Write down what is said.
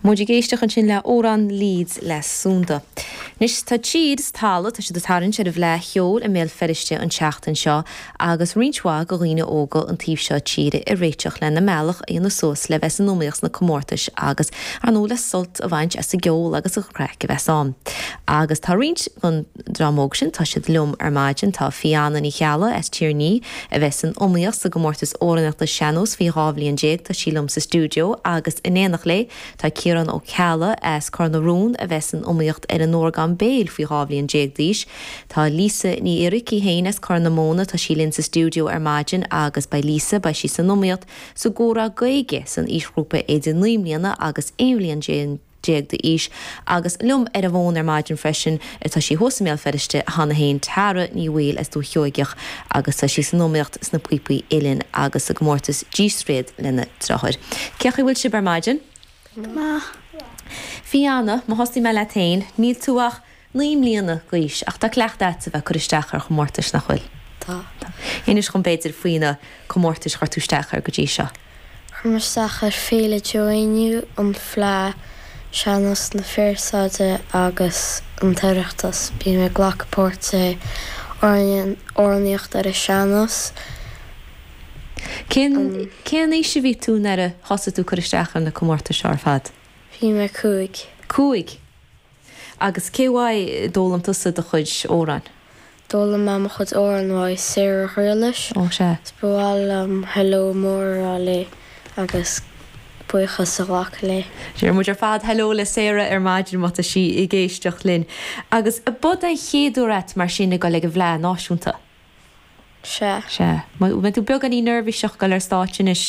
Muid ag éisteacht ansin le Amhrán Leeds le Sunda. Anois tá tír is talamh, tá siad ag tarraingt ar an bhFleadh Cheoil i mBéal Feirste an tseachtain seo agus roinnt mhaith de dhaoine óga an taobh seo tíre ag réiteach lena mbealach a dhéanamh suas le bheith san iomaíocht sna comórtais agus, ar ndóigh, le sult a bhaint as an gceol agus an chraic a bheas ann. Agus tá roinnt den dream óg sin, tá siad liom ar maidin, tá Fianna Ní Cheallaigh as Tír an Fhia a bheas san iomaíocht sa gcomórtas amhránaíochta sean-nós faoi 12 bhliain, tá sí liom sa stiúideo agus in éineacht léi tá Ciarán Ó Ceallaigh as Cor na Rón a bheas san iomaíocht ar an orgán béil faoi 12 bhliain d'aois. Tá Lisa Ní Oirirc í féin as Corr na Móna, tá sí linn sa stiúideo ar maidin agus beidh Lisa, beidh sí san iomaíocht sa gcomhrá Gaeilge san aoisghrúpa idir 9 mbliana agus 11 bhliain. d'aois agus liom ar an bhfón ar maidin freisin, tá sí thuas i mBéal Feirste cheana féin, Tara Ní Bhaoill as Dúiche Sheoigeach agus tá sí san iomaíocht sna píopaí uilleann agus sa gcomórtas dísréad lena deartháir. Cén chaoi a bhfuil sibh ar maidin? Go maith. Fianna, má thosnaíonn mé leat féin, níl tú ach 9 mbliana d'aois ach tá cleachtadh agat a bheith ag cur isteach ar chomórtais, nach bhfuil? Tá. Inis dhom b'fhéidir faoi na comórtais a chuir tú isteach air go dtí seo. Chuir mé isteach ar Féile Joe Éinniú, an Fleadh, Sean-nós na Fearsaide agus an tOireachtas. Bím ag glacadh páirt i amhránaíocht ar an sean-nós. Cén cén aois a bhí tú nuair a thosaigh tú ag cur isteach ar na comórtais seo ar fad? Bhí mé 5. 5? Agus cé uaidh a d'fhoghlaim tusa do chuid amhrán? D'fhoghlaim mé mo chuid amhrán uaidh Sarah Ghriallais. Ó sea. Is ba mhaith liom hello mór a rá léi agus buíochas a ghlacadh léi. Deir muid ar fad hello le Sarah ar maidin má tá sí ag éisteacht linn. Agus ab é an chéad uair a't mar sin ag dul ag an bhFleadh Náisiúnta? Sea. Sea. Mbeidh tú beagáinín neirbhíseach ag dul ar stáitse anois?